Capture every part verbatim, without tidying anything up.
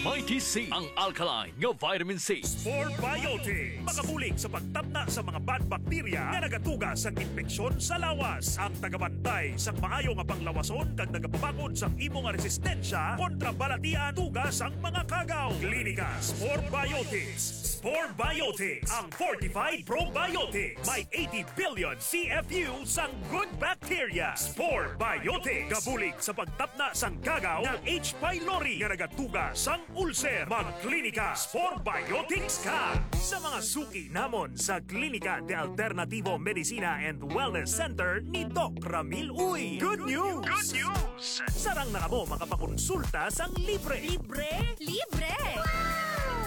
Mighty C, ang alkaline nga vitamin C. Spore Biotics, makabulig sa pagtapna sa mga bad bakterya nga nagatuga sa impeksyon sa lawas. Ang tagabantay sa maayo nga panglawason kag nagapabakod sang imo nga resistensya kontra balatian tuga sang mga kagaw. Klinika Spore Biotics. Spore Biotics, ang fortified probiotics. May eighty billion C F U sang good bacteria. Spore Biotics, gabulig sa pagtapna sang kagaw nga H. pylori nga nagatuga sang ulcer. Magklinika Spore Biotics ka sa mga suki namon sa Klinika de Alternativo Medicina and Wellness Center ni Doc Ramil Uy. Good news! Good news! Sarang na kamo makapakonsulta sang libre. Libre? Libre!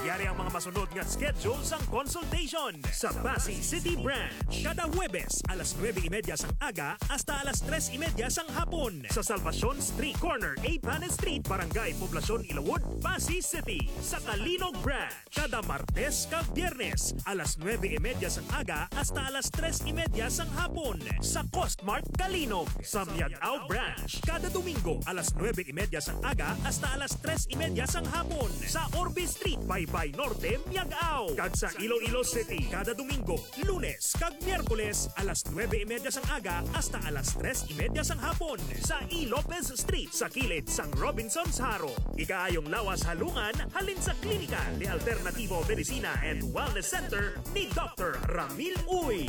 Yari ang mga masunod nga schedule sang consultation sa Passi City Branch. Kada Huwebes, alas nuebe y media sang aga hasta alas tres y media sang hapon sa Salvacion Street, corner A Panes Street, Barangay Poblacion, Ilawod, Passi City. Sa Calinog Branch, kada Martes kag Biyernes, alas nuebe y media sang aga hasta alas tres y media sang hapon sa Costmart Calinog. Sa Miag-ao Branch, kada Domingo, alas nuebe y media sang aga hasta alas tres y media sang hapon sa Orbe Street, Baybay Norte, Miag-ao. Kag sa Iloilo City, kada Domingo, Lunes kag Miyerkules, alas nuebe y media sang aga hasta alas tres y media sang hapon sa E. Lopez Street, sa kilid sang Robinsons Jaro. Ikaayong lawas halungan halin sa Klinika de Alternativo Medicina and Wellness Center ni Doctor Ramil Uy.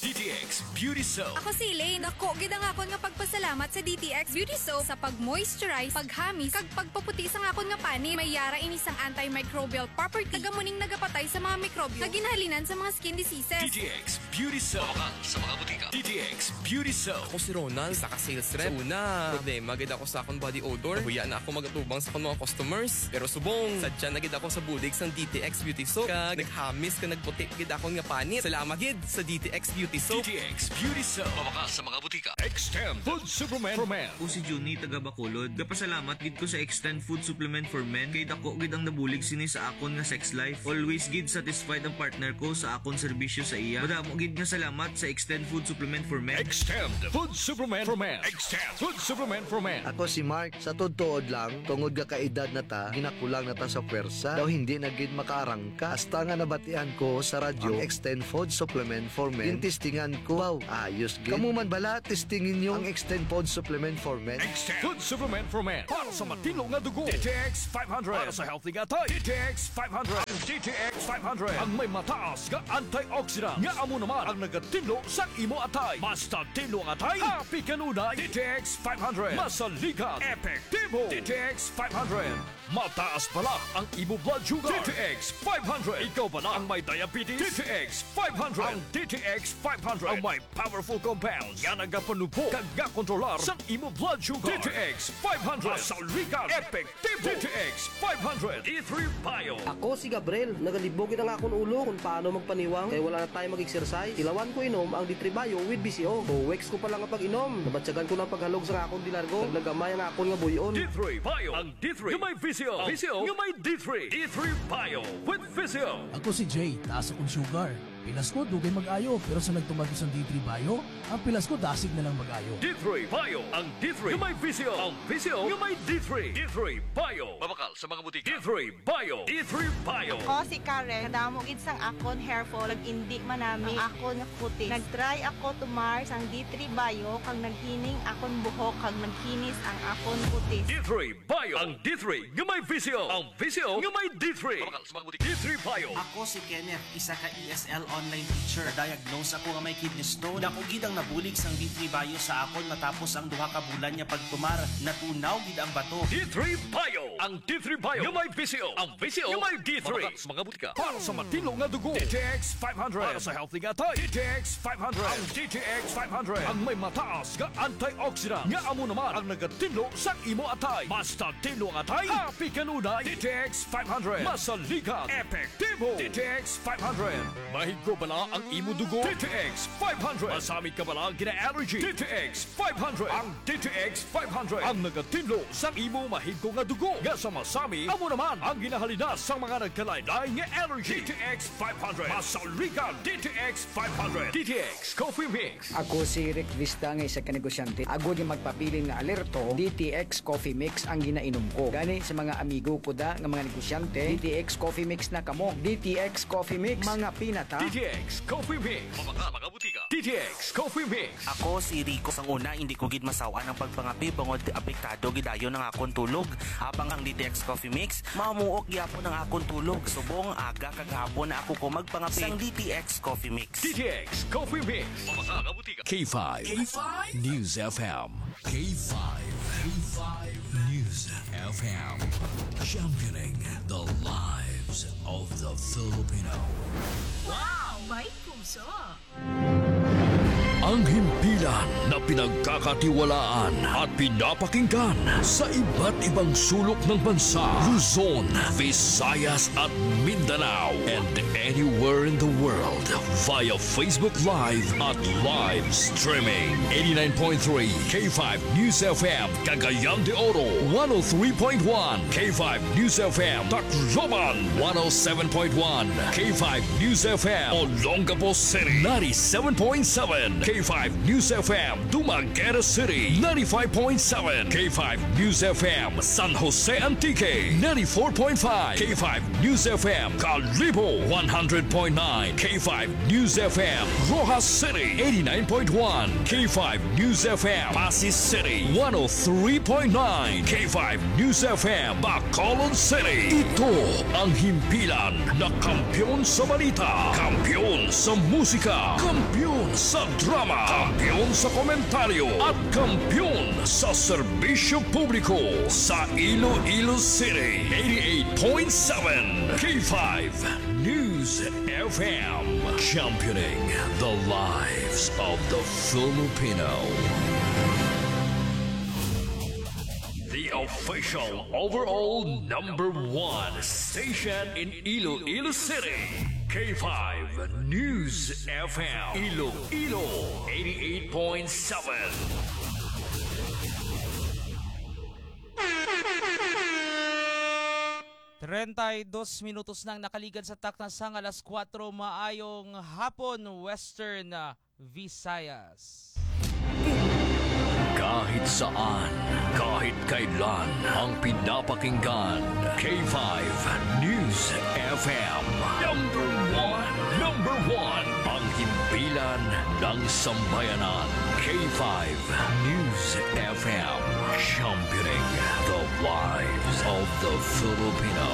D T X Beauty Soap. Ako si Elaine. Dako gid ang akon nga pagpasalamat sa D T X Beauty Soap sa pag-moisturize, paghamis, kag pagpaputi sang akon nga panit. May yara ini sang antimicrobial property. Taga mo ning nagapatay sa mga mikrobyo nga ginhalinan sa mga skin diseases. D T X Beauty Soap. Mabakal sa mga butika. D T X Beauty Soap. Ako si Ronald, isa ka sales rep. Sa una, problema gid ako sa akon body odor. Nahuya na ako magatubang sa akon mga customers. Pero subong, sadya na gid ako sa bulig sang D T X Beauty Soap. Kag naghamis kag nagputi gid akon nga panit. Salamat gid sa D T X Beauty Soap. D T X Beauty Soap. Mabakal sa mga butika. Extend Food Supplement for Men. Ako si Junie, taga Bacolod. Gapasalamat gid ko sa Extend Food Supplement for Men kay dako gid ang nabulig sini sa akon nga sex life. Always gid satisfied ang partner ko sa akon serbisyo sa iya. Madamo gid nga salamat sa Extend Food Supplement for Men. Extend Food Supplement for Men. Extend Food Supplement for Men. Ako si Mark. Sa tuod-tuod lang, tungod nga kaedad na ta, ginakulang na ta sa pwersa. Daw hindi na gid makaarangka. Hasta nga nabatian ko sa radyo ang Extend Food Supplement for Men, gintistingan ko. Wow, ayos gid. Kamo man bala, testingi ninyo ang Extend Food Supplement for Men. Extend Food Supplement for Men. Para sa matinlo nga dugo, D T X five hundred. Para sa healthy nga atay, D T X five hundred. Ang D T X five hundred ang may mataas nga antioxidant nga amo naman ang nagatinlo sa imo atay. Mas tinlo ang atay, happy kanunay. D T X five hundred. Masaligan, epektibo. D T X five hundred. Mataas bala ang imo blood sugar. D T X five hundred. Ikaw bala ang may diabetes? D T X five hundred. Ang D T X five hundred ang may powerful compounds nga nagapanubhog kag gakontrolar sang imo blood sugar. D T X five hundred. Masaligan, epektibo. D T X five hundred. D three Bio. Ako si Gabriel. Nagalibog gid ang akon ulo kung paano magpaniwang kay wala na tayo mag-exercise. Tilawan ko inom ang D three Bio with V C O. Two weeks ko pa lang nga pag-inom, nabatyagan ko na ang paghalog sa akon di largo. Kag nagamay ang akon nga buy-on. D three Bio. Ang D three nga may V C O. Ang V C O nga may D three. D three Bio with V C O. Ako si Jay, taas akong sugar. Pilas ko, dugay mag-ayo, pero sa nagtumar ko sang D three Bio, ang pilas ko dasig na lang mag-ayo. D three Bio, ang D three nga may V C O. Ang V C O nga may D three. D three Bio. Mabakal sa mga butika. D three Bio. D three Bio. Ako si Karen. Kadamo gid sang akon hair fall, nag-indi manami ang akon nga kutis. Nag-try ako tumar sang D three Bio, kag naghining akon buhok, kag nagkinis ang akon kutis. D three Bio. Ang D three nga may V C O. Ang V C O nga may D three. Mabakal sa mga butika. D three Bio. Ako si Kenneth, isa ka E S L online teacher. Na-diagnose ako nga may kidney stone. Dako gid ang nabulig sang D three Bio sa akon matapos ang duha ka bulan nga pagtumar. Natunaw gid ang bato. D three Bio. Ang D three Bio nga may V C O. Ang V C O nga may D three. Mabakal sa mga butika. Para sa matinlo nga dugo, D T X five hundred. Para sa healthy nga atay, D T X five hundred. Ang D T X five hundred ang may mataas nga antioxidant nga amo naman ang nagatinlo sa imo atay. Mas tinlo ang atay, happy kanunay. D T X five hundred. Masaligan, epektibo. D T X five hundred. May Ko bala ang imo dugo? D T X five hundred. Masami ka bala ang gina-allergy? D T X five hundred. Ang D T X five hundred ang nagatinlo sa imo mahigko nga dugo, nga sa masami amo naman ang ginahalina sa mga nagkalain-lain nga allergy. D T X five hundred. Masaligan, D T X five hundred. D T X Coffee Mix. Ako si Rick Vista nga isa ka negosyante. Agod nga magpabilin nga alerto, D T X Coffee Mix ang ginainom ko. Gani sa mga amigo ko da nga mga negosyante, D T X Coffee Mix na kamo. D T X Coffee Mix, mga pinata. D T X Coffee Mix. Mabaka, mga butika. D T X Coffee Mix. Ako si Rico. Sang una, hindi ko gid masawan ang pagpangape bangod apektado gid dayon ang akon tulog. Habang ang D T X Coffee Mix, mamuok gyapon ang akon tulog. Subong aga kag hapon na ako ko magpangape sang D T X Coffee Mix. D T X Coffee Mix. Mabaka, mga butika. K five K five News F M. K five, K five News F M, championing the lives of the Filipino. Wow! May puso! Ang himpilan na pinagkakatiwalaan at pinapakinggan sa iba't ibang sulok ng bansa, Luzon, Visayas at Mindanao, and anywhere in the world via Facebook Live at live streaming. Eighty-nine point three K five News F M, Cagayan de Oro, one oh three point one K five News F M, Tacloban, one oh seven point one K five News F M, Olongapo City, ninety-seven point seven K five News F M, Dumaguete City, ninety-five point seven K five News F M, San Jose Antique, ninety-four point five K five News F M, Kalibo, one hundred point nine K five News F M, Roxas City, eighty-nine point one K five News F M, Passi City, one oh three point nine K five News F M, Bacolod City. Ito ang himpilan na kampiyon sa balita, kampiyon sa musika, kampiyon sa drama, kampiyon sa komentaryo, at kampiyon sa serbisyo publiko sa Iloilo City. Eighty-eight point seven K five News F M, championing the lives of the Filipino. The official overall number one station in Iloilo City, K five News F M, Iloilo, eighty-eight point seven. Treinta y dos minutos nang nakaligad sa takna sang alas kuwatro. Maayong hapon, Western, ah, Visayas. Kahit saan, kahit kailan, ang pinapakinggan, K five News F M. Number one, number one, ang himpilan ng sambayanan, K five News F M, championing the lives of the Filipino.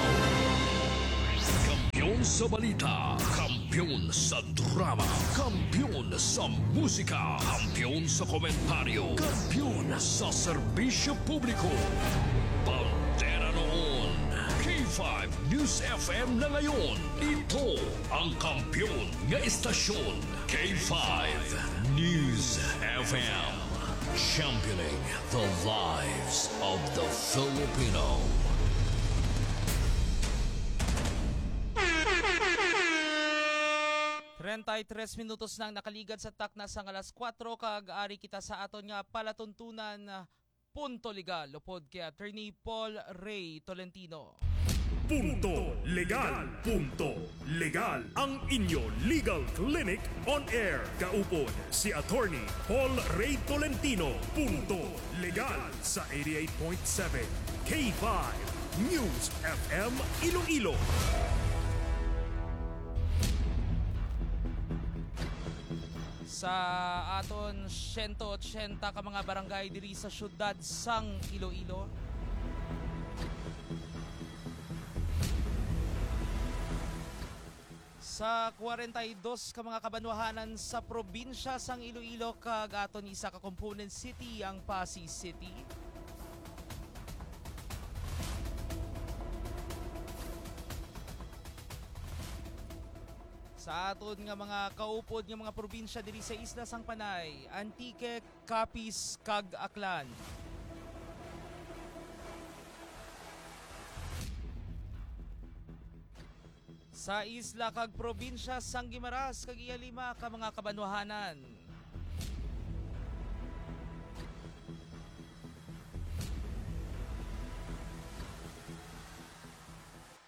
Kampiyon sa balita, kampiyon sa drama, kampiyon sa musika, kampiyon sa komentaryo, kampiyon sa serbisyo publiko. Bandera noon, K five News F M na ngayon. Ito ang kampiyon nga estasyon, K five News F M. Championing the lives of the Filipino. Treinta y tres minutos nang nakaligad sa takna sang alas kuwatro, kag ari kita sa aton nga palatuntunan, Punto Legal, upod kay Attorney Paul Ray Tolentino. Punto Legal, Punto Legal, ang inyo legal clinic on air. Kaupod si Attorney Paul Ray Tolentino. Punto Legal sa eighty-eight point seven K five News F M Iloilo. Sa aton siyento otsenta ka mga barangay diri sa siyudad sang Iloilo, sa kwarenta y dos ka mga kabanwahanan sa probinsya sang Iloilo kag aton isa ka component city, ang Passi City, sa aton nga mga kaupod nga mga probinsya diri sa isla sang Panay, Antique, Capiz, kag Aklan. Sa isla kag probinsya sang Guimaras kag iya lima ka mga kabanwahanan.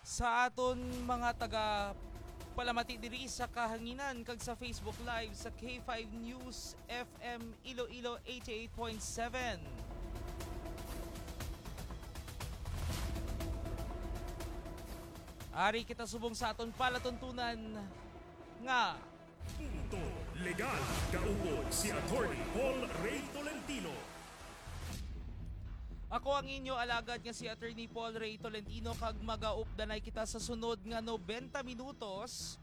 Sa aton mga taga palamati diri sa kahanginan kag sa Facebook Live sa K five News F M Iloilo eighty-eight point seven. Ari kita subong sa aton palatuntunan nga Punto Legal, kaupod si Attorney Paul Ray Tolentino. Ako ang inyo alagad nga si Attorney Paul Ray Tolentino, kag magaupdanay kita sa sunod nga nobenta minutos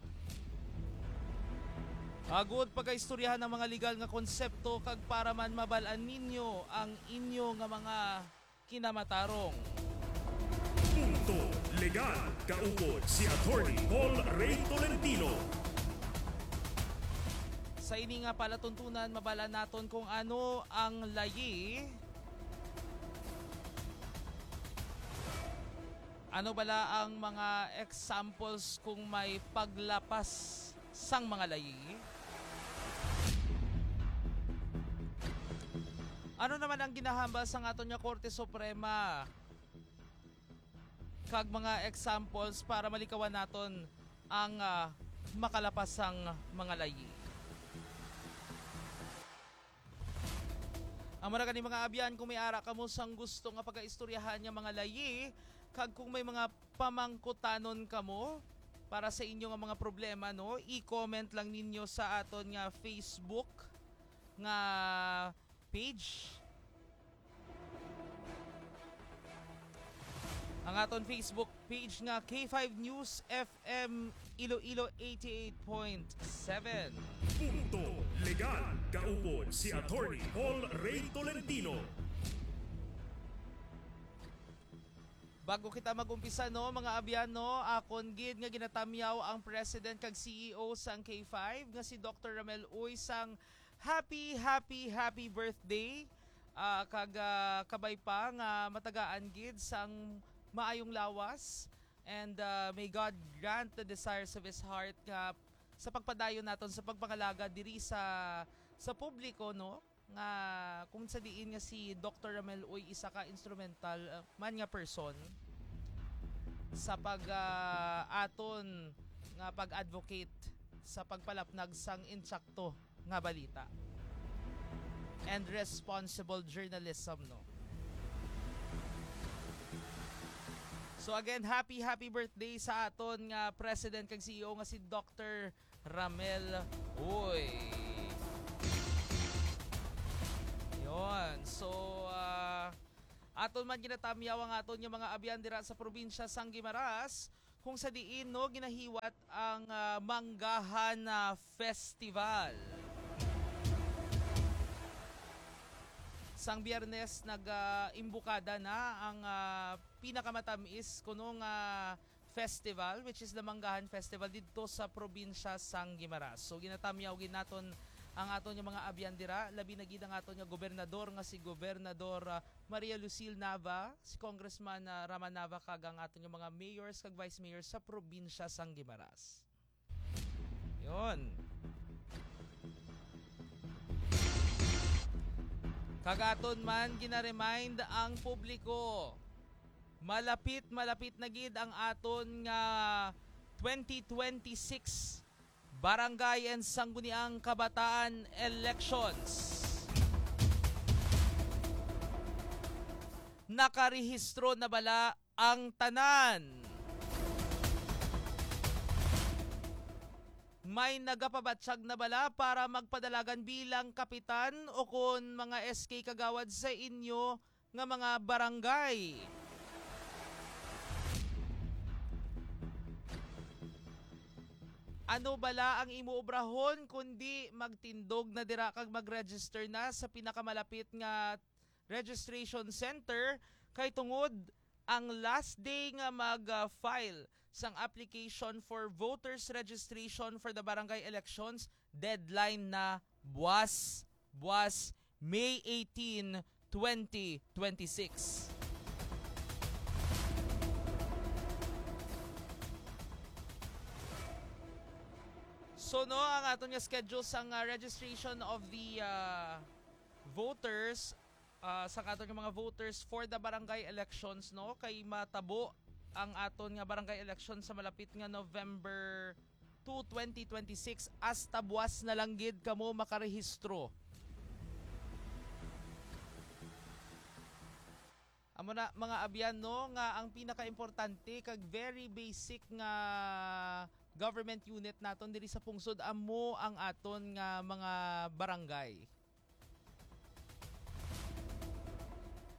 agud pagaistoryahan ang mga legal nga konsepto kag para man mabal-an ninyo ang inyo nga mga kinamatarong. Punto Legal, kaupod si Attorney Paul Ray Tolentino. Sa ini nga palatuntunan, mabal-an naton kung ano ang layi, ano bala ang mga examples kung may paglapas sang mga layi? Ano naman ang ginahambal sang aton nga Korte Suprema? Kag mga examples para malikawan naton ang, ah, makalapas sang mga layi. Ang mura gani, mga abyan, kung may ara kamo sang gusto nga pagaistoryahan nga mga layi, kag kung may mga pamangkutanon kamo para sa inyo nga mga problema, no, i-comment lang ninyo sa aton nga Facebook nga page. Ang aton Facebook page nga K five News F M Iloilo eighty-eight point seven. Punto Legal, kaupod si Attorney Paul Ray Tolentino. Bago kita mag-umpisa, no, mga abyan, no, akon gid nga ginatamyaw ang President kag C E O sang K five nga si Doctor Ramel Uy sang happy, happy, happy birthday, ah, kag, ah, kabay pa nga matagaan gid sang maayong lawas. And, ah, may God grant the desires of his heart nga sa pagpadayon naton sa pagpangalagad diri sa, sa publiko, no? Nga kung sa diin nga si Doctor Ramel Uy isa ka instrumental, ah, man nga person sa pag, ah, aton nga pag-advocate sa pagpalapnag sang insakto nga balita and responsible journalism, no? So again, happy, happy birthday sa aton nga President kag C E O nga si Doctor Ramel Uy. Yon. So, ah, aton man ginatamyaw ang aton nga mga abyan dira sa probinsya sang Guimaras, kung sa diin, no, ginahiwat ang, ah, Manggahan, ah, Festival. Sang Biyernes, nag, ah, imbukada na ang, ah, pinakamatamis kuno nga festival, which is the Manggahan Festival, didto sa probinsya sang Guimaras. So, ginatamyaw gid naton ang aton nga mga abyan dira, labi na gid ang aton nga gobernador nga si Gobernador, ah, Maria Lucille Nava, si Congressman, ah, Rama Nava, kag ang aton nga mga mayors kag vice mayors sa probinsya sang Guimaras. Yon. Kag aton man gina-remind ang publiko, malapit, malapit na gid ang aton nga twenty twenty-six Barangay and Sangguniang Kabataan Elections. Nakarehistro na bala ang tanan? May nagapabatyag na bala para magpadalagan bilang kapitan o kon mga S K kagawad sa inyo nga mga barangay? Ano bala ang imo obrahon kundi magtindog na dira kag mag-register na sa pinakamalapit nga registration center, kay tungod ang last day nga mag-file sang application for voters registration for the barangay elections, deadline na buwas, buwas, May eighteen, twenty twenty-six. So, no, ang aton nga schedule sang, ah, registration of the, ah, voters, ah, sa aton nga mga voters for the barangay elections, no, kay matabo ang aton nga barangay election sa malapit nga November two, twenty twenty-six. Hasta buwas na lang gid kamo makarehistro. Amo na, mga abyan, no, nga ang pinakaimportante kag very basic nga government unit naton diri sa pungsod, amo ang aton nga mga barangay.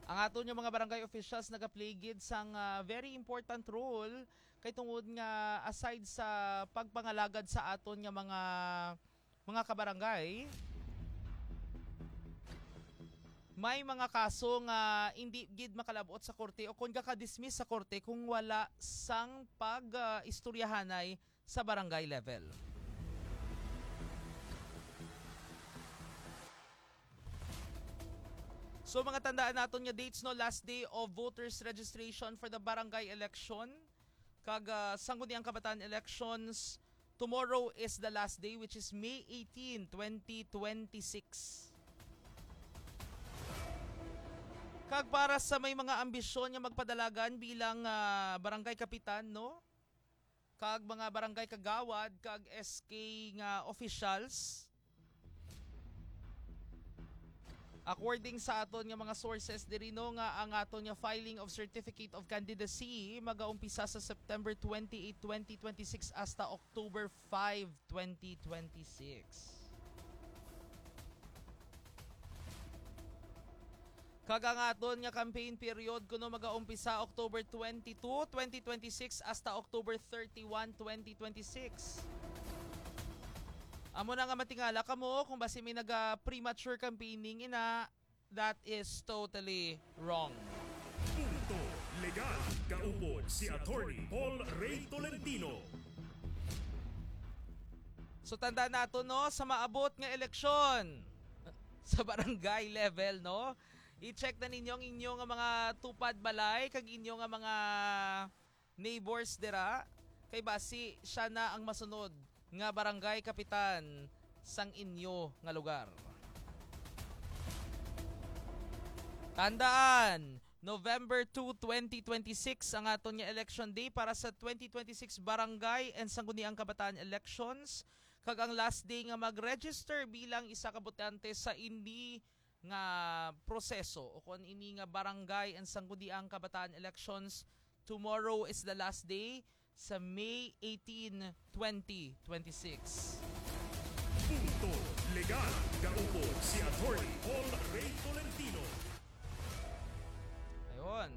Ang aton nga mga barangay officials nagaplay gid sang, ah, very important role, kay tungod nga, aside sa pagpangalagad sa aton nga mga, mga kabarangay, may mga kaso nga hindi gid makalabot sa korte o kon gaka-dismiss sa korte kung wala sang pag, ah, istoryahanay sa barangay level. So, mga tandaan naton nga dates, no, last day of voters registration for the barangay election kag, ah, Sangguniang Kabataan elections. Tomorrow is the last day, which is May eighteen, twenty twenty-six. Kag para sa may mga ambisyon nga magpadalagan bilang, ah, barangay kapitan, no, kag mga barangay kagawad kag S K nga officials, according sa aton nga mga sources diri, no, nga ang aton nga filing of certificate of candidacy magaumpisa sa September twenty-eight, twenty twenty-six hasta October five, twenty twenty-six. Kag ang aton nga campaign period kuno magaumpisa October twenty-two, twenty twenty-six hasta October thirty-one, twenty twenty-six. Amo na nga matingala kamo kung basi may naga premature campaigning ina, that is totally wrong. Punto Legal, kaupod si Attorney Paul Ray Tolentino. So, tandaan nato, no, sa maabot nga eleksyon sa barangay level, no, i-check na ninyo ang inyo nga mga tupad balay kag inyo nga mga neighbors dira, kay basi siya na ang masunod nga barangay kapitan sang inyo nga lugar. Tandaan, November two, twenty twenty-six ang aton nga election day para sa twenty twenty-six barangay and sangguniang kabataan elections, kag ang last day nga mag-register bilang isa ka botante sa ini nga proseso o kon ini nga barangay and sangguniang kabataan elections. Tomorrow is the last day sa May eighteen, twenty twenty-six. Punto Legal, kaupod si Attorney Paul Ray Tolentino. Ayun.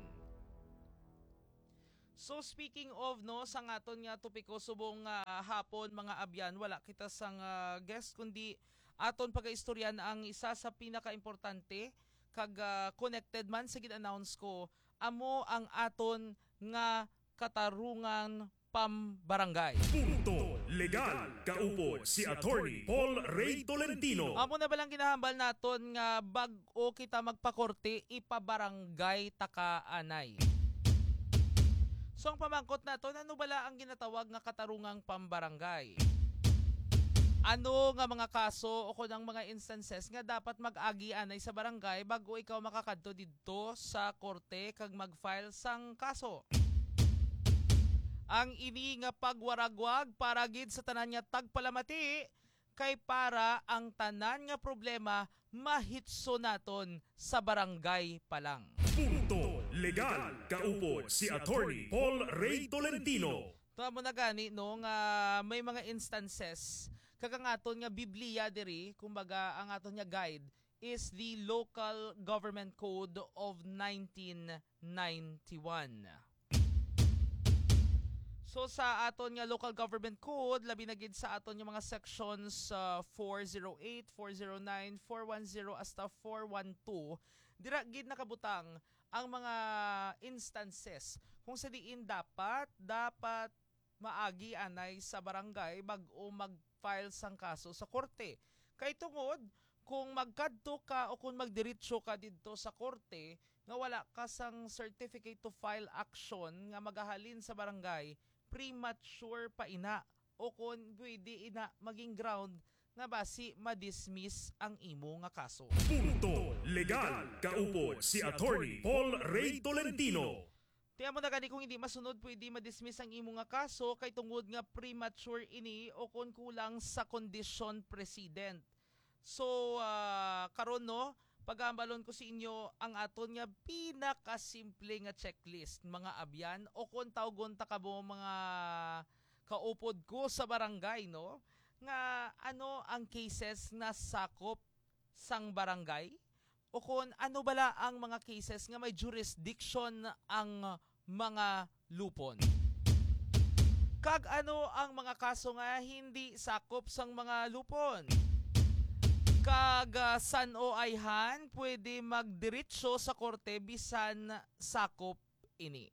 So, speaking of, no, sa aton nga topiko subong nga hapon, mga abyan, wala kita sang, ah, guest, kundi aton pagaistoryan ang isa sa pinakaimportante kag, ah, connected man sa gin-announce ko, amo ang aton nga katarungang pambarangay. Punto Legal, kaupod si Attorney Paul Ray Tolentino. Amo na ba lang ginahambal naton nga bag-o kita magpakorte, ipabarangay ta ka anay? So, ang pamangkot naton, ano bala ang ginatawag nga katarungang pambarangay? Ano nga mga kaso o kon ang mga instances nga dapat mag-agi anay sa barangay bag-o ikaw makakadto didto sa korte kag mag-file sang kaso? Ang ini nga pagwaragwag para gid sa tanan nga tagpalamati, kay para ang tanan nga problema mahitso naton sa barangay pa lang. Punto Legal, kaupod si Attorney Paul Ray Tolentino. Tama na gani, no, nga may mga instances kag ang aton nga Biblia diri, kumbaga, ang aton nga guide is the Local Government Code of nineteen ninety-one. So, sa aton nga Local Government Code, labi na gid sa aton nga mga sections, ah, four zero eight, four zero nine, four one zero hasta four one two, dira gid nakabutang ang mga instances kung sa diin dapat, dapat maagi anay sa barangay bag-o mag-file sang kaso sa korte. Kay tungod, kung magkadto ka o kung magdiretso ka didto sa korte nga wala ka sang certificate to file action nga magahalin sa barangay, premature pa ina o kon pwede ina maging ground nga basi ma-dismiss ang imo nga kaso. Punto Legal, kaupod si Attorney Paul Ray Tolentino. Tiyan mo na gani kung hindi masunod, pwede ma-dismiss ang imo nga kaso kay tungod nga premature ini o kon kulang sa kondisyon precedent. So, ah, karon, no, pagahambalon ko sa inyo ang aton nga pinakasimple nga checklist, mga abyan, o kon tawgon ta kamo mga kaupod ko sa barangay, no, nga ano ang cases nga sakop sang barangay, o kon ano bala ang mga cases nga may jurisdiction ang mga lupon. Kag ano ang mga kaso nga hindi sakop sang mga lupon? Kag, ah, san-o ayhan pwede magdiretso sa korte bisan sakop ini?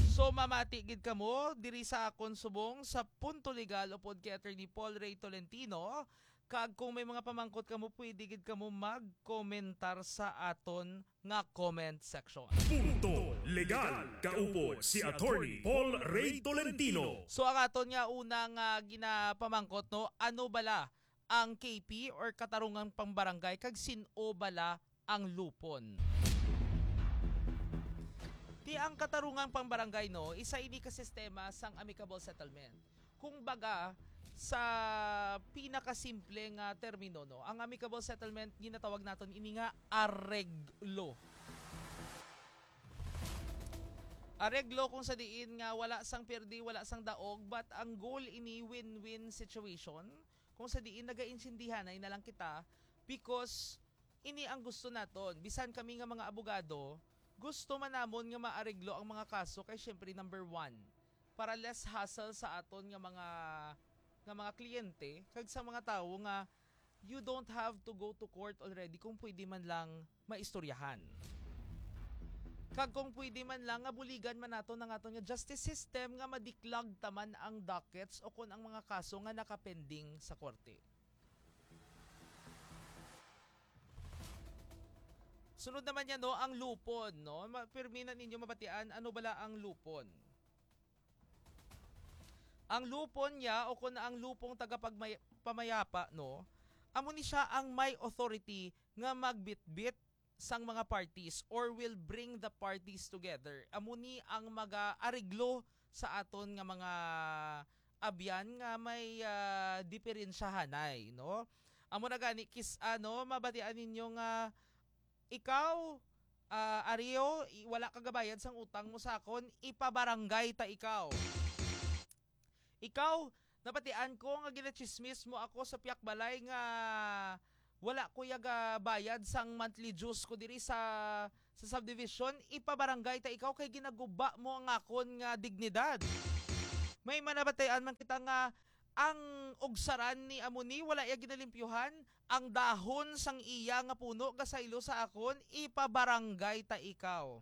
So, mamati gid kamo diri sa akon subong sa Punto Legal upod kay Attorney Paul Ray Tolentino. Kag kung may mga pamangkot kamo, pwede gid kamo magkomentar sa aton nga comment section. Punto Legal, kaupod si Attorney Paul Ray Tolentino. So, ang aton nga una nga ginapamangkot, no, ano bala ang K P or katarungang pangbarangay, kag sin-o bala ang lupon? Ti ang katarungang pangbarangay, no, isa ini ka sistema sang amicable settlement. Kung baga, sa pinakasimple nga termino, no, ang amicable settlement, ginatawag naton ini nga areglo. Areglo kung sa diin nga wala sang pirdi, wala sang daog, but ang goal ini win-win situation, kung sa diin nagaintindihanay na lang kita, because ini ang gusto naton. Bisan kami nga mga abogado, gusto man namon nga maareglo ang mga kaso kay, syempre, number one, para less hassle sa aton nga mga, nga mga kliyente kag sa mga tawo nga you don't have to go to court already kung pwede man lang maistoryahan. Kag kung pwede man lang nga buligan man naton ang aton nga justice system nga madiklag taman ang dockets o kon ang mga kaso nga nakapending sa korte. Sunod naman niya, no, ang lupon, no? Ma-, pirmi na ninyo mabatian, ano bala ang lupon? Ang lupon niya, o kon ang lupong tagapagmay-, pamayapa, no? Amo ni siya ang may authority nga magbitbit sang mga parties or will bring the parties together. Amo ni ang mag-areglo sa aton nga mga abyan nga may, ah, diperensyahanay, no? Amo na gani, kis-, ano, mabatian ninyo nga ikaw, ah, Ario, i-, wala ka gabayad sang utang mo sa akon, ipabarangay ta ikaw. Ikaw, nabatian ko nga ginachismis mo ako sa pihak balay nga wala ko ya gabayad sang monthly dues ko diri sa, sa subdivision, ipabarangay ta ikaw kay ginaguba mo ang akon nga dignidad. May manabatian man kita nga ang ugsaran ni amo ni wala ya ginalimpyuhan, ang dahon sang iya nga puno gasaylo sa akon, ipabarangay ta ikaw.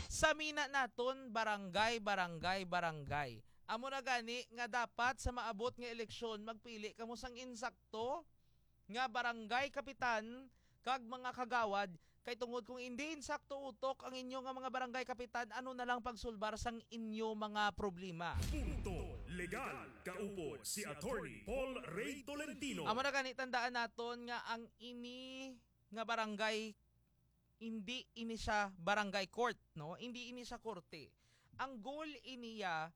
Sa mina naton, barangay, barangay, barangay. Amo na gani nga dapat sa maabot nga eleksyon, magpili kamo sang insakto nga barangay kapitan kag mga kagawad, kay tungod kung indi insakto utok ang inyo nga mga barangay kapitan, ano na lang pagsulbar sang inyo mga problema. Punto Legal, kaupod si Attorney Paul Ray Tolentino. Amo na gani, tandaan naton nga ang ini nga barangay, hindi ini siya barangay court, no? Hindi ini siya korte. Ang goal iniya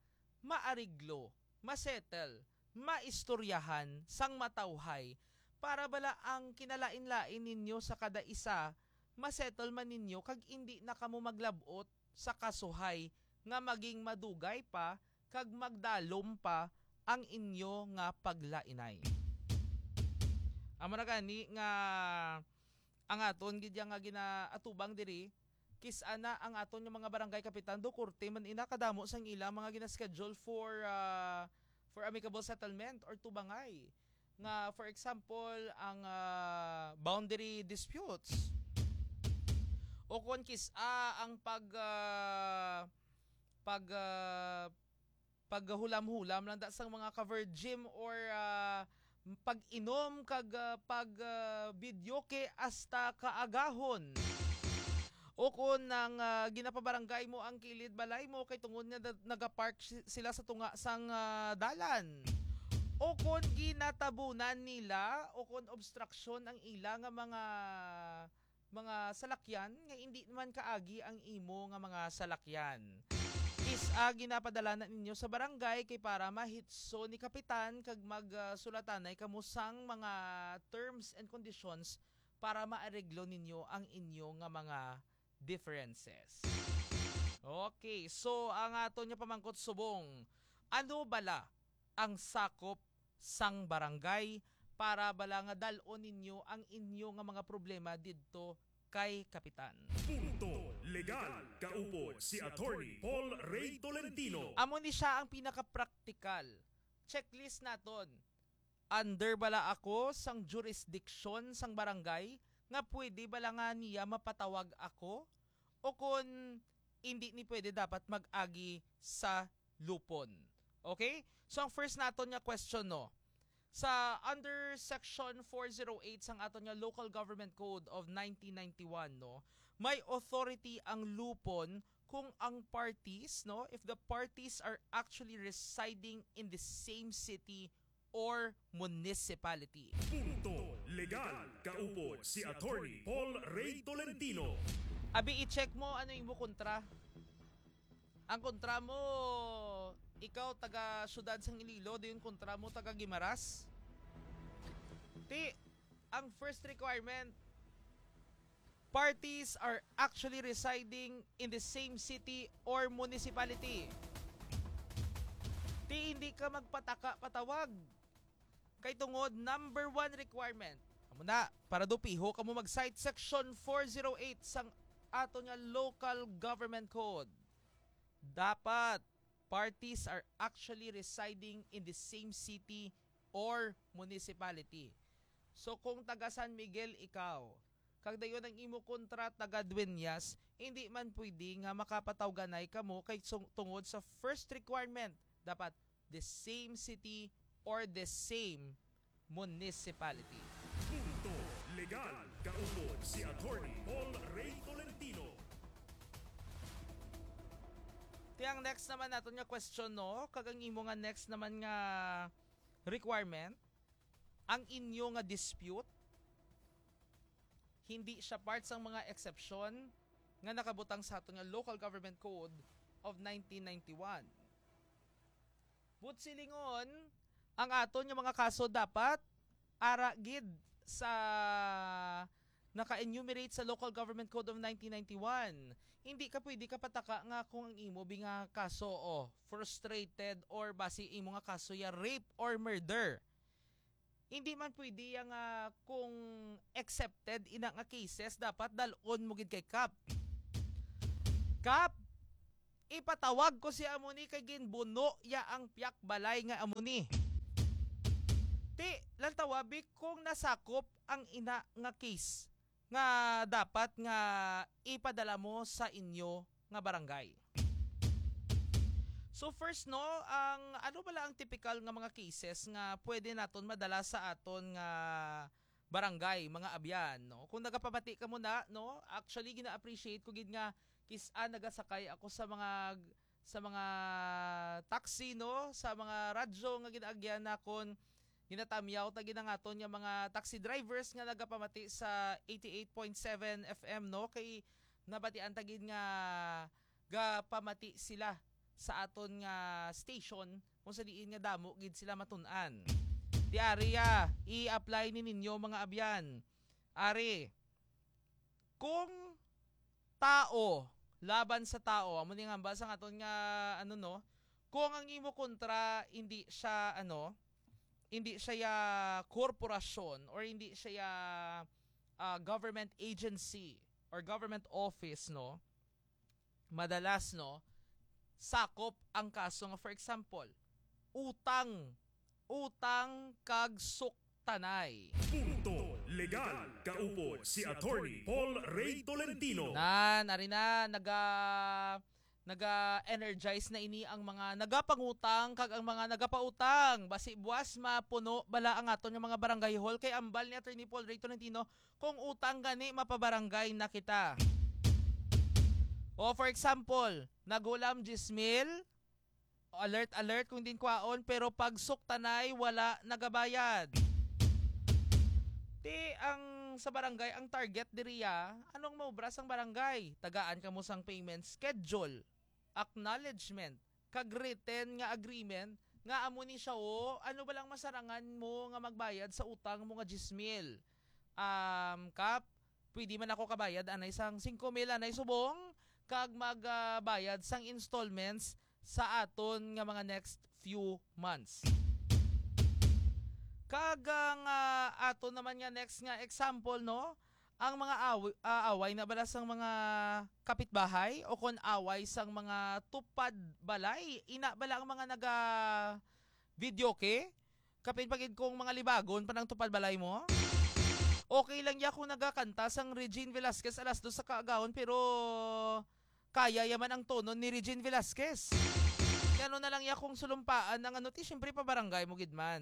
maariglo, masettle, maistoryahan sang matawhay para bala ang kinalain-lain ninyo sa kada isa masettle man ninyo kag indi na kamo maglab-ot sa kasuhay nga maging madugay pa kag magdalom pa ang inyo nga paglainay. Amo na gani nga ang aton gid ya nga ginaatubang diri, kis-a na ang aton nga mga barangay kapitan, do korte man ina kadamo sang ila mga gina-schedule for, ah, for amicable settlement or tubangay. Nga, for example, ang, ah, boundary disputes. O kon kis-a ang pag, ah, pag, ah, paghulam-hulam lang da sang mga ka-virgin or, ah, pag-inom kag, ah, pag, ah, videoke hasta kaagahon. O kon ang, ah, ginapabarangay mo ang kilid balay mo kay tungod nga da-, nagapark si-, sila sa tunga sang, ah, dalan. O kon ginatabunan nila o kon obstruction ang ila nga mga, mga salakyan nga indi naman kaagi ang imo nga mga salakyan. Is-a ginapadala na ninyo sa barangay kay para mahitso ni kapitan kag mag, ah, sulatanay kamo sang mga terms and conditions para maareglo ninyo ang inyo nga mga differences. Okay, so ang aton nga pamangkot subong, ano bala ang sakop sang barangay para bala nga dal-on ninyo ang inyo nga mga problema didto kay kapitan? Punto Legal, kaupod si Attorney Paul Ray Tolentino. Amo ni siya ang pinaka-practical. Checklist naton. Under bala ako sang jurisdiction sang barangay nga pwede bala nga niya mapatawag ako? O kon hindi ni pwede dapat mag-agi sa lupon? Okay? So ang first naton nga question, no, sa under section four zero eight sang aton nga Local Government Code of nineteen ninety-one, no, may authority ang lupon kung ang parties, no, if the parties are actually residing in the same city or municipality. Punto Legal, kaupod si Attorney Paul Ray Tolentino. Abi, i-check mo ano imo kontra. Ang kontra mo, ikaw taga siyudad sang Iloilo, dayon kontra mo taga Guimaras. Ti, ang first requirement, parties are actually residing in the same city or municipality. Ti, hindi ka magpataka patawag. Kay tungod, number one requirement, amo na, para daw piho kamo mag-cite section four zero eight sang aton nga Local Government Code. Dapat parties are actually residing in the same city or municipality. So kung taga San Miguel ikaw, kag dayon ang imo kontra taga Dueñas, hindi man pwede nga makapatawganay kamo kay sung-, tungod sa first requirement, dapat the same city or the same municipality. Punto Legal, kaupod si Attorney Paul Ray Tolentino. Ti ang next naman naton nga question, no, kag ang imo nga next naman nga requirement, ang inyo nga dispute hindi siya part sang mga exception nga nakabutang sa aton nga Local Government Code of nineteen ninety-one. But silingon, ang aton nga mga kaso dapat ara gid sa naka-enumerate sa Local Government Code of nineteen ninety-one. Hindi ka pwede kapataka nga kung ang imo bi nga kaso, o frustrated, or basi imo nga kaso ya rape or murder. Hindi man pwede ya nga kung accepted ina nga cases, dapat dal-on mo gid kay kap. Kap, ipatawag ko si amo ni kay ginbuno ya ang piyak balay nga amo ni. Ti, lantawa bi kung nasakop ang ina nga case nga dapat nga ipadala mo sa inyo nga barangay. So first, no, ang ano bala ang typical nga mga cases nga pwede naton madala sa aton nga barangay, mga abyan, no? Kung nagapamati ka mo na, no, actually gina-appreciate ko gid nga kis-a nagasakay ako sa mga sa mga taxi, no, sa mga radyo nga ginaagyan nakon, ginatamyaw ta gid ang aton nga mga taxi drivers nga nagapamati sa eighty-eight point seven F M, no, kay nabatian ta gid nga gapamati sila sa aton nga station kung sa diin nga damo gid sila matun-an. Ti ari, ah, i-apply ni ninyo, mga abyan. Ari, kung tao laban sa tao, amo ni nga hambal sang aton nga, ano, no, kung ang imo kontra hindi siya, ano, hindi siya ya korporasyon or hindi siya ya, ah, government agency or government office, no, madalas, no, sakop ang kaso nga, for example, utang, utang kag suktanay. Punto Legal, kaupod si Attorney Paul Ray Tolentino. Nan, ari na, naga naga-energize na ini ang mga nagapangutang kag ang mga nagapautang. Basi buwas mapuno bala ang aton nga mga barangay hall, kay ambal ni Attorney Paul Ray Tolentino, kung utang gani, mapabarangay na kita. O, for example, nagulam diyes mil, alert, alert kung din kwaon, pero pag suktanay, wala nagabayad. Ti ang sa barangay, ang target diriya, anong maubra sang barangay? Tagaan kamo sang payment schedule, acknowledgement, kag written nga agreement nga amo ni siya, o, ano ba lang masarangan mo nga magbayad sa utang mo nga diyes mil? Um, Kap, pwede man ako kabayad anay sang singko mil anay subong, kag magbayad sang installments sa aton nga mga next few months. Kag ang, ah, aton naman nga next nga example, no? Ang mga aw-, ah, away na bala sang mga kapitbahay o kon away sang mga tupad balay, ina bala ang mga naga videoke? Kapin pa gid kung mga libagon pa nang tupad balay mo? Okay lang ya kung nagakanta sang Regine Velasquez alas dos sa kaagahon, pero kaya yaman ang tono ni Regine Velasquez. Kaya ano na lang ya kung sulumpaan ang ano, ti, siyempre pa barangay mo gid man.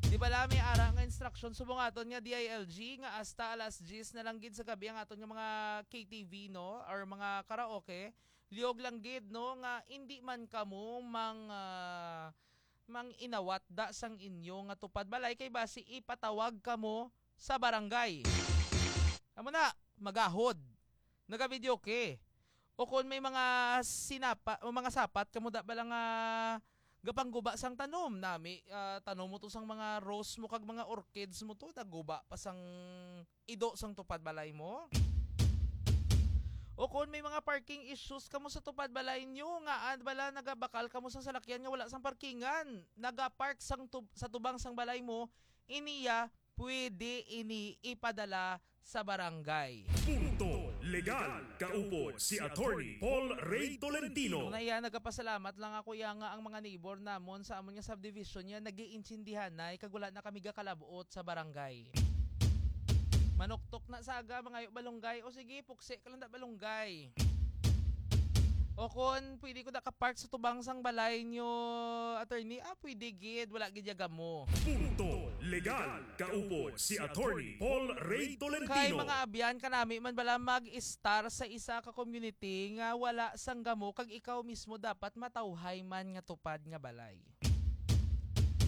Di bala may ara nga instruction subong aton nga D I L G nga hasta alas diyes na lang gid sa gabi ang aton nga mga K T V, no, or mga karaoke. Liog lang gid, no, nga hindi man kamo mang, ah, mang inawat da sang inyo nga tupad balay, kay basi ipatawag kamo sa barangay. Amo na, magahod. Nagavideoke. O kon may mga sinapa, o mga sapat kamo da bala nga gapangguba sang tanom nami, ah, tanom mo to sang mga rose mo kag mga orchids mo to, naguba pa sang ido sang tupad balay mo. O kon may mga parking issues kamo sa tupad balay nyo, nga ad bala nagabakal kamo sang salakyan nga wala sang parkingan, nagapark sang tub-, sa tubang sang balay mo, iniya pwede ini ipadala sa barangay. Punto Legal, kaupod si Attorney Paul Ray Tolentino. Una iya, nagapasalamat lang ako iya nga ang mga neighbor namon sa amon nga subdivision niya nag-iintindihanay kag wala na kami gakalabot sa barangay. Manuktok na saga, mangayo balunggay. O sige, puksi ka lang da balunggay. O kon pwede ko da ka-park sa tubang sang balay nyo, attorney, ah, pwede gid, wala gid ya gamo. Punto Legal, kaupod si Attorney Paul Ray Tolentino. Kay mga abyan, kanami man bala mag-estar sa isa ka community nga wala sang gamo kag ikaw mismo dapat matawhay man nga tupad nga balay.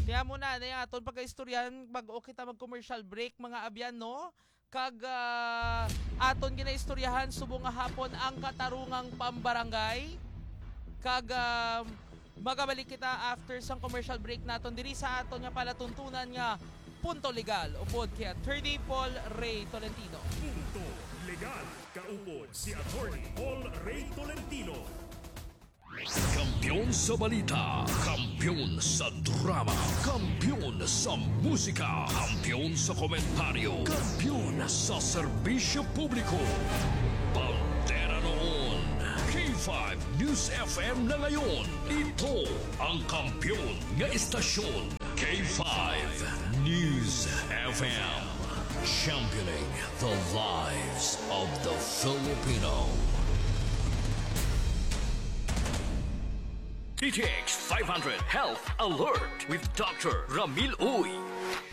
Kaya mo na, na yung aton pagkaistoryahan, bag-o kita mag-commercial break, mga abyan, no? Kag, ah, aton ginaistoryahan subong nga hapon ang katarungang pambarangay. Kag, ah, magabalik kita after sang commercial break naton diri sa aton nga palatuntunan nga Punto Legal, upod kay Attorney Paul Ray Tolentino. Punto Legal, kaupod si Attorney Paul Ray Tolentino. Kampiyon sa balita, kampiyon sa drama, kampiyon sa musika, kampiyon sa komentaryo, kampiyon sa serbisyo publiko. Bandera noon, K five News F M na ngayon. Ito ang kampiyon nga istasyon, K five News F M. Championing the lives of the Filipino. D T X five hundred Health Alert with Doctor Ramil Uy.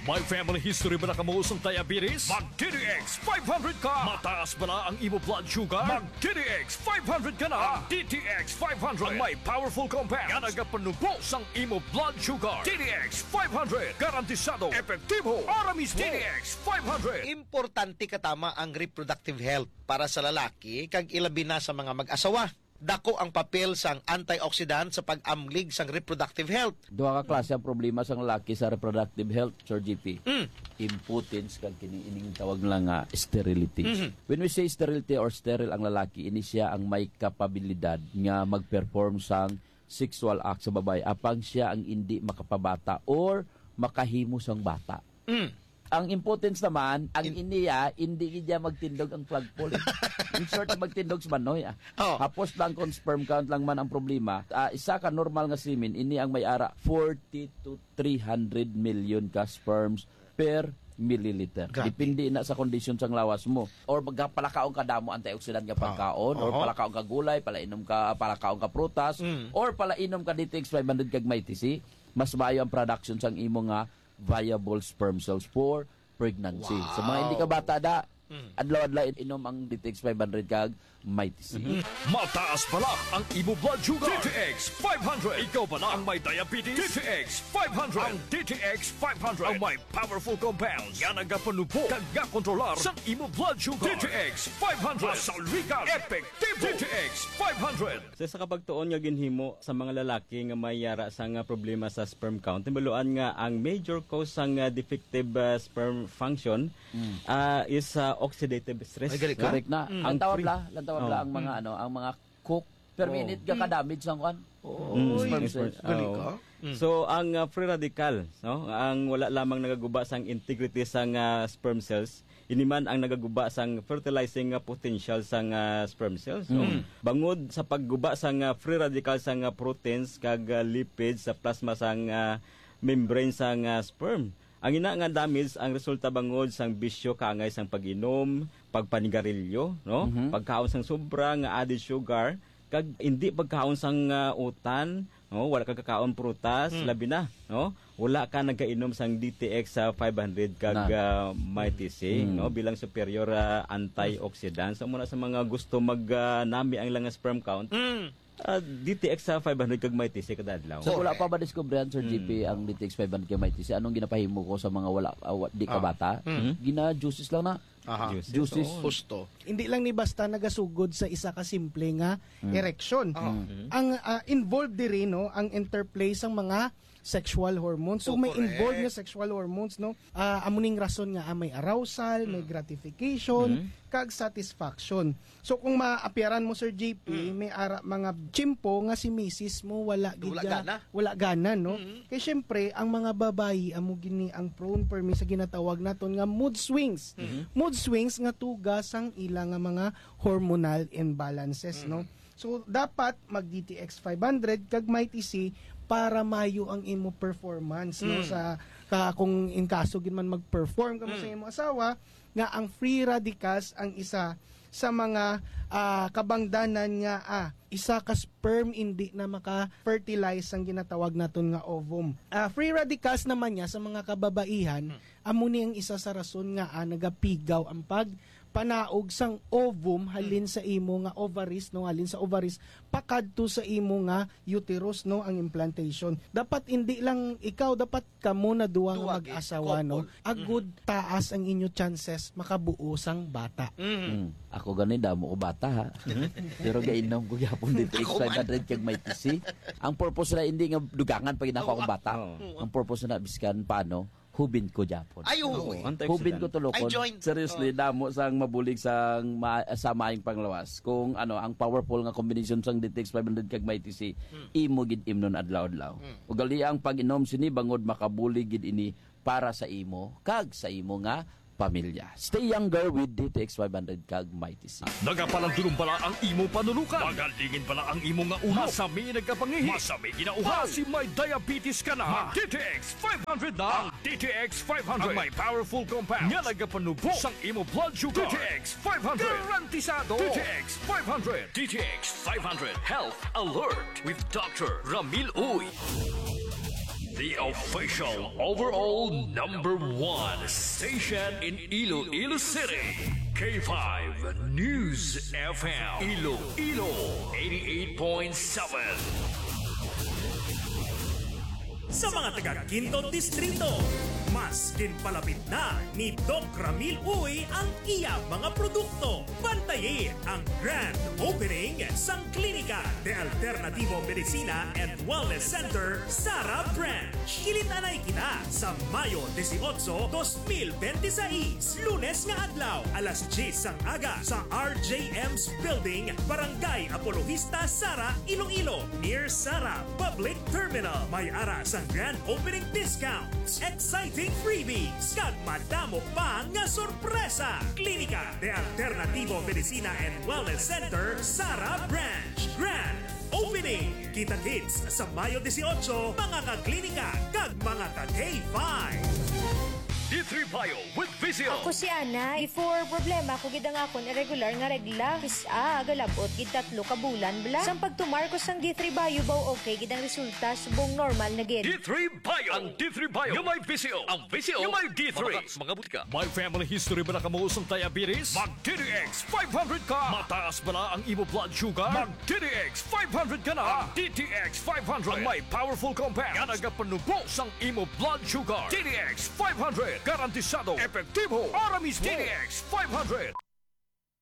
May family history ba na kamo sang diabetes? Mag D T X five hundred ka! Mataas ba na ang imo blood sugar? Mag D T X five hundred ka na! Ang D T X five hundred ang may powerful compound nga nagapanubo sang imo blood sugar. D T X five hundred, garantisado, epektibo, para mismo. D T X five hundred. Importante katama ang reproductive health para sa lalaki kag ilabi na sa mga mag-asawa. Dako ang papel sang antioxidant sa pag-amlig sang reproductive health. Duha ka klase ang problema sang lalaki sa reproductive health, Sir G P. Mm. Impotence kag kini ining tawag nila nga sterility. Mhm. When we say sterility or sterile ang lalaki, ini siya ang may kapabilidad nga mag-perform sang sexual act sa babayi, apang siya ang indi makapabata or makahimo sang bata. Mm. Ang impotence naman, ang In- iniya, indi gid niya magtindog ang flagpole. In short, magtindog sa manoy, ah. Oh. Hapos lang kung sperm count lang man ang problema. Ah, isa ka normal nga semen, ini ang may ara forty to three hundred million ka sperms per milliliter. Grabe. Depende na sa kondisyon sang lawas mo. Or magpalakaon ka damo antioxidant nga Ah. pagkaon, or Oho. palakaon ka gulay, palainom ka, palakaon ka prutas, Mm. or palainom ka D T X five hundred kag Mighty C, mas maayo ang production sang imo nga viable sperm cells for pregnancy. Sa mga hindi ka Wow. bata da, Mm. adlaw-adlaw inom ang D T X five hundred kag Mighty C. Mhm. Mataas bala ang imo blood sugar. D T X five hundred. Ikaw bala ang may diabetes? D T X five hundred. Ang D T X five hundred ang may powerful compounds nga nagapanubo kag gakontrolar sang imo blood sugar. D T X five hundred. Masaligan. Epektibo. D T X five hundred. Sa isa ka pagtuon nga ginhimo sa mga lalaki nga may yara sang, ah, problema sa sperm count, nabaluan nga ang major cause sang, ah, defective, ah, sperm function, Mm. ah, is, ah, oxidative stress, Ay, gali ka. no? Correct na. Mm. Ang Lantawa free bla, lantawa bla Oh. ang mga, Mm. ano, ang mga coke per Oh. minute ga Mm. ka-damage sang kwan. Oh, Mm, sperm yes, cells. yes. Gali Oh. ka. Mm. So, ang, ah, free radical, no? Ang wala lamang nagaguba sang integrity sang, ah, sperm cells, ini man ang nagaguba sang fertilizing nga potential sang, ah, sperm cells, no? Mm. Bangod sa pagguba sang, ah, free radical sang, ah, proteins kag, ah, lipids sa plasma sang, ah, membrane sang, ah, sperm. Ang ina nga damage ang resulta bangod sang bisyo kaangay sang pag-inom, pagpanigarilyo, no? Mhm. Pagkaon sang sobra nga added sugar, kag hindi pagkaon sang, ah, utan, no? Wala ka kakaon prutas, Hmm. labi na, no? Wala ka nagkainom sang D T X sa five hundred kag, Na. ah, Mighty C, Hmm. no? Bilang superior, ah, antioxidant. So, muna sa mga gusto mag, ah, nami ang ilang sperm count, Hmm. ah, D T X sa five hundred kag Mighty C kada adlaw. So, wala pa ba diskubrihan, Sir Hmm. G P, ang D T X five hundred kag Mighty C? Anong ginapahimo ko sa mga wala, ah, wa-, di ka Ah. bata? Hmm. Gina-juices lang na. Aha. Juices, Juices. oo. Husto. Hindi lang ni basta nagasugod sa isa ka simple nga Mm. erection. Oo. Mm. Ang, ah, involved diri, no, ang interplay sang mga sexual hormones. So, Oh, may correct. involved nga sexual hormones, no? Ah, amo ning rason nga, ah, may arousal, may Mm. gratification, Mm. kag satisfaction. So, kung maapyaran mo, Sir J P, Mm. may ara mga tiyempo nga si misis mo wala gid Wala ga-, gana. wala gana, no? Mm. Kay syempre, ang mga babayi amo gini ang prone permi sa ginatawag naton nga mood swings. Mm. Mood swings nga tuga sang ila nga mga hormonal imbalances, Mm. no? So, dapat mag D T X five hundred kag Mighty C para mayo ang imo performance, no? Mm. Sa, ka, kung in kaso gid man mag-perform ka mo sa Mm. imo asawa, nga ang free radicals ang isa sa mga, ah, kabangdanan nga, ah, isa ka sperm hindi na maka-fertilize ang ginatawag naton nga ovum. Ah, free radicals naman niya sa mga kababaihan, Hmm. amo ni ang isa sa rason nga, ah, nagapigaw ang pagpanaog sang ovum halin Hmm. sa imo nga ovaries, no, halin sa ovaries pakadto sa imo nga uterus, no, ang implantation. Dapat hindi lang ikaw, dapat kamo na duha nga Duha gid, mag-asawa, no? couple. Agud Mhm. taas ang inyo chances makabuo sang bata. Mhm. Mm. Ako gani, damo ko bata, ha? Mhm. Pero gainom ko gyapon dito, Ako man. X five hundred kag Mighty C. Ang purpose na hindi nga dugangan pag inako Oo, akong bata. oo. Ang purpose na biskan paano, hubin ko gyapon. Ay, oo. Oo, antioxidant. Hubin ko tulokon. Ay, joint. Seriously, Oo. damo sang mabulig sang ma-, sa maayong panglawas. Kung ano, ang powerful nga combination sang D T X five hundred kag Mighty C, Hmm. imo gid imnon adlaw-adlaw. Hmm. Ugali ang pag-inom sini bangod makabulig gid ini para sa imo kag sa imo nga pamilya. Stay younger with D T X five hundred kag Mighty C. Nagapalandulong bala ang imo panulukan? Magalingin bala ang imo nga ulo? Masami nagkapangihi? Masami ginauhaw? Basi may diabetes ka na? Mag D T X five hundred na. Ang D T X five hundred ang may powerful compound nga nagapanubo sang imo blood sugar. D T X five hundred. Garantisado. D T X five hundred. D T X five hundred Health Alert with Doctor Ramil Uy. The official overall number one station in Iloilo City. K five News F M. Iloilo, eighty-eight point seven. Sa mga taga Quinto Distrito, mas ginpalapit na ni Doc Ramil Uy ang iya mga produkto. Bantayi ang grand opening sang Klinika de Alternativo Medicina and Wellness Center, Sara Branch. Kilit-anay kita sa Mayo dieciocho, dos mil bente seis, Lunes nga adlaw, alas diyes sang aga sa R J M's Building, Barangay Apologista, Sara, Iloilo, near Sara Public Terminal. May ara sang grand opening discounts, exciting freebies, kag madamo pa nga sorpresa. Klinika de Alternativo Medicina and Wellness Center, Sara Branch. Grand Opening! Kita-kits sa Mayo dieciocho, mga ka-klinika kag mga ka-K five. D D three Bio with Visio. Ako si Ana. Before, problema ko gid ang akon irregular nga regla. Kis-a, galabot gid tatlo ka bulan bala. Sang pagtumar ko sang D three Bio, baw okay gid ang resulta, subong normal na gid. D three Bio. Ang D three Bio nga may Visio. Ang Visio nga may D three. Mabakas mga butika. May family history ba na kamo sang diabetes? Mag D T X five hundred ka. Mataas bala ang imo blood sugar? Mag D T X five hundred ka na. Ang D T X five hundred ang may powerful compound nga nagapanubo sang imo blood sugar. D T X five hundred, garantisado, epektibo, ara mismo. D T X five hundred.